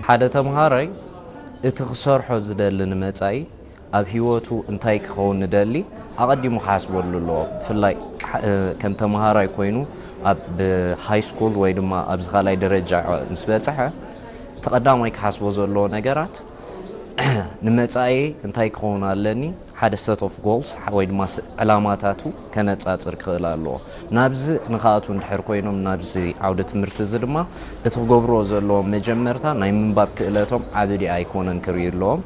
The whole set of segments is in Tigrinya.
ሓደ ተምሃራይ እቲ ክሰርሖ ዝደሊ ንመጻኢ ኣብ ህይወቱ እንታይ ክኸውን ንደሊ ኣቐዲሙ ክሓስበሉ ኣለዎ። ብፍላይ ከም ተምሃራይ ኮይኑ ኣብ ሃይ ስኩል ወይ ድማ ኣብዚ ካልኣይ ደረጃ ምስ በጽሐ እቲ ቀዳማይ ክሓስቦ ዘለዎ ነገራት ንመጻኢ እንታይ ክኸውን ኣለኒ፣ ሓደ set of goals ወይ ድማ ዕላማታቱ ከነጻጽር ክኽእል ኣለዎ። ናብዚ ንኽኣቱ እንድሕር ኮይኖም ናብዚ ዓውደ ትምህርቲ እዚ ድማ እቲ ክገብርዎ ዘለዎም መጀመርታ ናይ ምንባብ ክእለቶም ዓቢ ድኣ ኣይኮነን ክርእዩ ኣለዎም።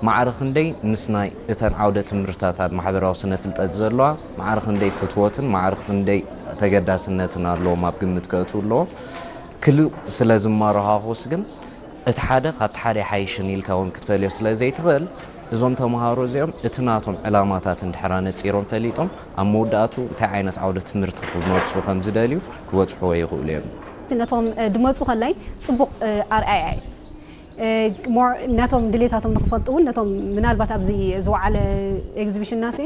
ማዕረ ክንደይ ምስ ናይ እተን ዓውደ ትምህርትታት ኣብ ማሕበራዊ ስነ ፍልጠት ዘለዋ ማዕረ ክንደይ ፍትወትን ማዕረ ክንደይ ተገዳስነትን ኣለዎም ኣብ ግምት ከእትዉ ኣለዎም። ክልኡ ስለ ዝመረኻኹስ ግን እቲ ሓደ ካብቲ ሓደ ይሓይሽን ኢልካ እውን ክትፈልዮ ስለ ዘይትኽእል እዞም ተምሃሮ እዚኦም እቲ ናቶም ዕላማታት እንድሕራ ነጺሮም ፈሊጦም ኣብ መወዳእቱ እንታይ ዓይነት ዓውደ ትምህርቲ ክመርጹ ከም ዝደልዩ ክበጽሕዎ ይኽእሉ እዮም። ነቶም ድመፁ ከላይ ፅቡቕ ኣርኣያ እዩ። ነቶም ድሌታቶም ንክፈልጡ እውን ነቶም ምናልባት ኣብዚ ዝወዓለ ኤግዚቢሽን ናሲ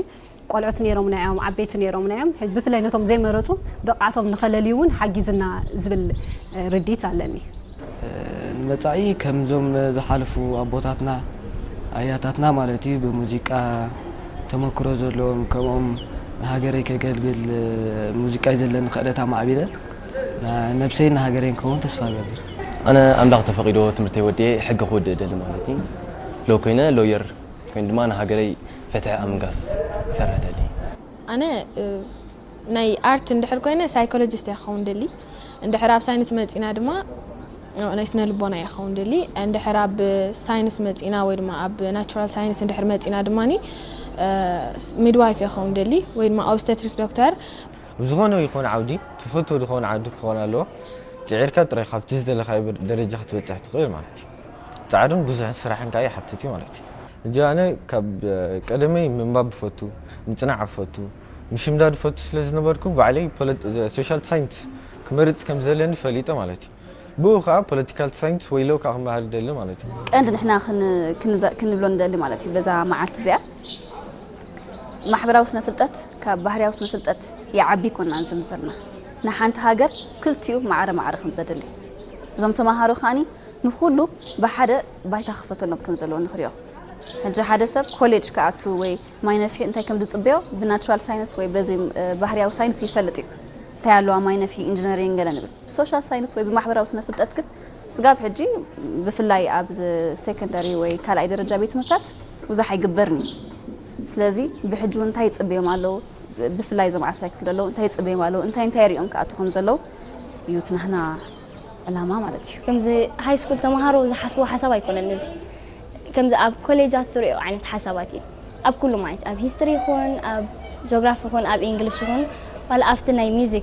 ቆልዑት ነይሮምና እዮም፣ ዓበይቲ ነይሮምና እዮም። ብፍላይ ነቶም ዘይመረፁ ብቕዓቶም ንኸለልዩ እውን ሓጊዝና ዝብል ርዲት ኣለኒ። ንመጻኢ ከምዞም ዝሓለፉ ኣቦታትና ኣያታትና ማለት እዩ ብሙዚቃ ተመክሮ ዘለዎም ከምኦም ንሃገረይ ከገልግል ሙዚቃ እዩ ዘለኒ ክእለት ኣማዕቢለ ነብሰይን ንሃገረይን ክኸውን ተስፋ እገብር። ኣነ ኣምላኽ ተፈቒዶ ትምህርተይ ወዲኤ ሕጊ ክወድእ እደሊ ማለት እዩ። ሎ ኮይነ ሎየር ኮይኑ ድማ ንሃገረይ ፍትሒ ኣብ ምንጋስ ክሰርሕ እደሊ። ኣነ ናይ ኣርት እንድሕር ኮይነ ሳይኮሎጂስት እየ ክኸውን ደሊ። እንድሕር ኣብ ሳይንስ መፂና ድማ ናይ ስነ ልቦና እየ ክኸውን ደሊ። እንድሕር ኣብ ሳይንስ መፂና ወይ ድማ ኣብ ናቹራል ሳይንስ እንድሕር መፂና ድማ ሚድዋይፍ እየ ክኸውን ደሊ ወይ ድማ ኦብስተትሪክ ዶክተር። ኣብ ዝኾነ ይኹን ዓውዲ ትፈትዎ ዝኾነ ዓውዲ ክኾን ኣለዎ። ፅዒርካ ጥራይ ካብቲ ዝደለኻዮ ደረጃ ክትበፅሕ ትኽእል ማለት እዩ። ፃዕርን ብዙሕን ስራሕን ከዓ ይሓትት እዩ ማለት እዩ። ሕጂ ኣነ ካብ ቀደመይ ምንባብ እፈቱ፣ ምፅናዕ እፈቱ፣ ምሽምዳድ እፈቱ ስለ ዝነበርኩ ባዕለይ ሶሻል ሳይንስ ክመርፅ ከም ዘለኒ ፈሊጠ ማለት እዩ። ብኡ ከዓ ፖለቲካል ሳይንስ ወይ ሎው ከዓ ክመሃር ይደሊ ማለት እዩ። ቀንዲ ንሕና ክንብሎ ንደሊ ማለት እዩ በዛ መዓልቲ እዚኣ ማሕበራዊ ስነ ፍልጠት ካብ ባህርያዊ ስነ ፍልጠት ይዓቢ ይኮናን ዝምዘና ንሓንቲ ሃገር ክልቲኡ ማዕረ ማዕረ ከም ዘድሊ እዞም ተማሃሮ ከዓኒ ንኹሉ ብሓደ ባይታ ክፈተሎም ከም ዘለዎ ንኽሪኦ። ሕጂ ሓደ ሰብ ኮሌጅ ክኣቱ ወይ ማይ ነፍሒ እንታይ ከም ዝጽበዮ ብናቹራል ሳይንስ ወይ በዚ ባህርያዊ ሳይንስ ይፈልጥ እዩ። እንታይ ኣለዋ ማይ ነፍሒ ኢንጂነሪንግ ገለ ንብል። ብሶሻል ሳይንስ ወይ ብማሕበራዊ ስነ ፍልጠት ግን ስጋብ ሕጂ ብፍላይ ኣብ ሴኮንደሪ ወይ ካልኣይ ደረጃ ቤት ትምህርታት ብዙሕ ኣይግበርን እዩ። ስለዚ ብሕጂ እውን እንታይ ይጽበዮም ኣለዉ ብፍላይ እዞም ዓስራይ ክፍሊ ዘለዉ እንታይ ይጽበዮም ኣለዉ እንታይ እንታይ ሪኦም ክኣቱ ከም ዘለዉ እዩ እቲ ናህና ዕላማ ማለት እዩ። ከምዚ ሃይ ስኩል ተምሃሮ ዝሓስብዎ ሓሳብ ኣይኮነን እዚ። ከምዚ ኣብ ኮሌጃት ትሪኦ ዓይነት ሓሳባት እዩ። ኣብ ኩሉ ማለት ኣብ ሂስትሪ ይኹን ኣብ ጂኦግራፊ ይኹን ኣብ ኢንግሊሽ ይኹን ዋላ ኣብቲ ናይ ሚዚክ